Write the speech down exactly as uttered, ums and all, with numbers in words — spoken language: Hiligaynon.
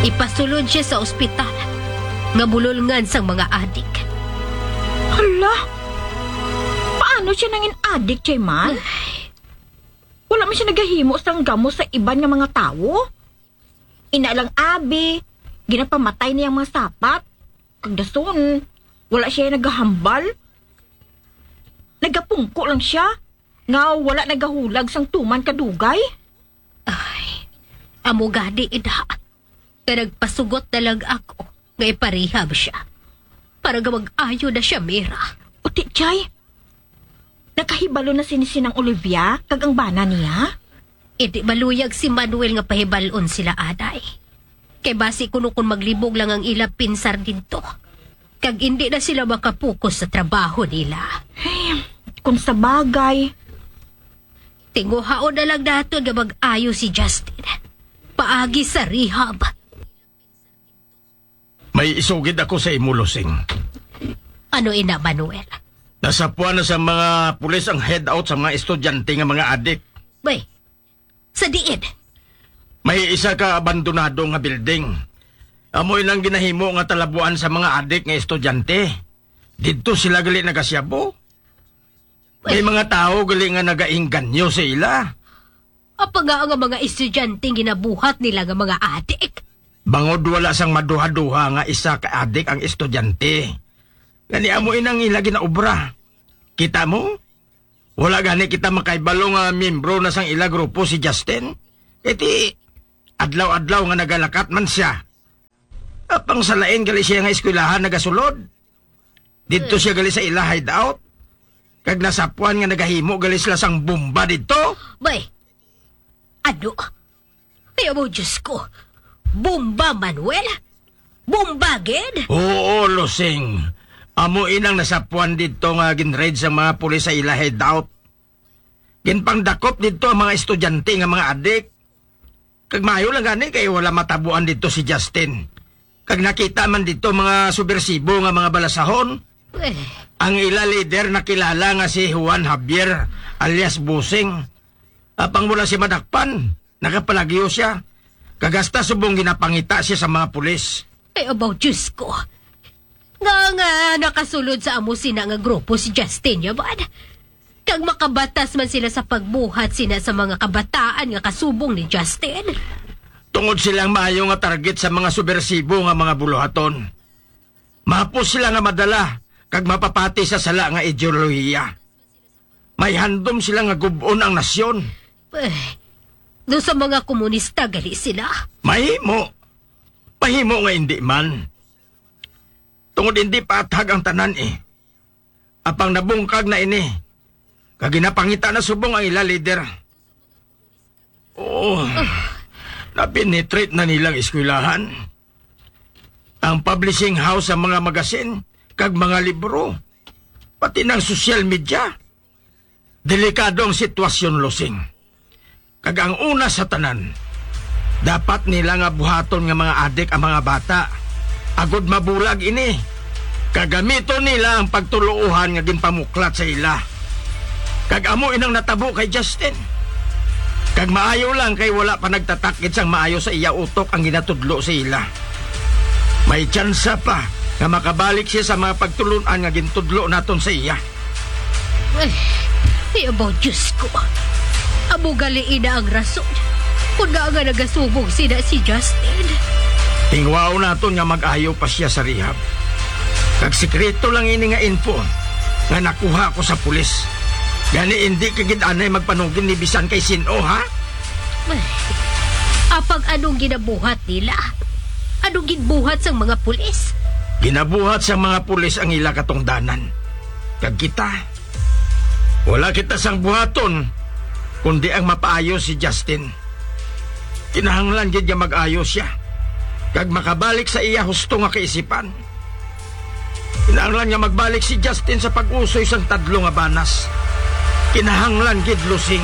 Ipasulod siya sa ospital nga bulolngan sang mga adik. Hala! Paano siya nangin adik, Jayman? Wala man siya nagahimo sang gamo sa iban nga mga tawo. Ina lang abi, ginapamatay niya ang mga sapat. Kag dason, wala siya nagahambal. Nagapungko lang siya nga wala nagahulag sang tuman kadugay. Ay, amo gani, ina, nga nagpasugot na lang ako nga iparehab siya para nga mag-ayo na siya, Mira. Uti, Chay, nakahibalo na sini sinang Olivia kag ang bana niya? Indi maluyag si Manuel nga pahibal-on sila, anay. Kay basi kuno kon maglibog lang ang ila pinsar didto, kag indi na sila makapokus sa trabaho nila. Ay, kung sa bagay. Tinguhaon na lang naton nga mag-ayo si Justin paagi sa rehab. May isugid ako sa imo, Lusing. Ano ina, Manuel? Nasapuan na sa mga pulis ang hideout sa mga estudyante nga mga adik. Bay, sa diin? May isa ka abandonado nga building. Amo inang ginahimo nga talabuan sa mga adik nga estudyante. Didto sila gali nagasyabo. May mga tawo gali nga nagaengganyo sa ila. Apa nga ang mga estudyante ginabuhat nila nga mga adik? Bangod wala sang maduha-duha nga isa ka adik ang estudyante. Gani amo inang ila ginaobra. Kita mo? Wala gani kita makaibalo nga miyembro na sang ila grupo si Justin. Kay ti, adlaw-adlaw nga nagalakat man siya. Apang sa lain gali siya nga eskwelahan nagasulod. Didto siya gali sa ila hideout. Kag nasapuan nga nagahimo gali sila sang bomba didto. Bay, ano? Ay, amo, Diyos ko. Bomba, Manuel? Bomba gid? Oo, Lusing. Amo inang nasapuan didto nga ginraid sang mga pulis sa ila hideout. Ginpangdakop didto ang mga estudyante nga mga adik. Kag maayo lang gani kay wala matabuan didto si Justin. Kag nakita man didto mga subwersibo nga mga balasahon. Eh. Ang ila lider nakilala nga si Juan Javier alias Busing. Apang wala siya madakpan, nakapalagyo siya. Kag hasta subong ginapangita siya sa mga pulis. Ay, abaw, Diyos ko. Nga, nga nakasulod sa amo sina nga grupo si Justin, ya man? Kag makabatas man sila sa pagbuhat sina sa mga kabataan nga kasubong ni Justin? Tungod silang maayo nga target sa mga subwersibo nga mga buluhaton. Mahapos sila nga madala kag mapapati sa sala nga ideolohiya. May handom sila nga gub-on ang nasyon. Eh, do sa mga komunista gali sila? Mahimo. Mahimo nga indi man. Tungod indi paathag ang tanan, eh. Apang nabungkag na ini, kag ginapangita na subong ang ila lider. Oo, napenetrate na nilang eskwelahan, ang publishing house sa mga magasin kag mga libro, pati ng social media. Delikado ang sitwasyon, Lusing. Kag ang una sa tanan, dapat nila nga buhaton nga mga adik ang mga bata, agod mabulag ini. Kag gamiton nila ang pagtuloohan nga ginpamuklat sa ila. Kag amo inang natabo kay Justin. Kag maayo lang kay wala pa nagtatak gid sang maayo sa iya utok ang ginatudlo sa ila. May tsansa pa nga makabalik siya sa mga pagtulon-an nga gintudlo naton sa iya. Ay, ay, abaw, Diyos ko. Amo gali ina ang rason kon ngaa nga nagasubong sina si Justin. Tingwaon naton nga mag-ayo pa siya sa rehab. Kag sikreto lang ini nga info nga nakuha ko sa pulis. Gani, indi ka gid anay magpanugin ni bisan kay sin-o, ha? Ay, apang anong ginabuhat nila? Anong ginbuhat sang mga pulis? Ginabuhat sang mga pulis ang ila katungdanan. Kag kita, wala kita sang buhaton, kundi ang mapaayo si Justin. Kinahanglan gid nga mag-ayo siya, kag makabalik sa iya husto nga kaisipan. Kinahanglan nga magbalik si Justin sa pag-usoy sang tadlo nga banas. Kinahanglan gid, Lusing.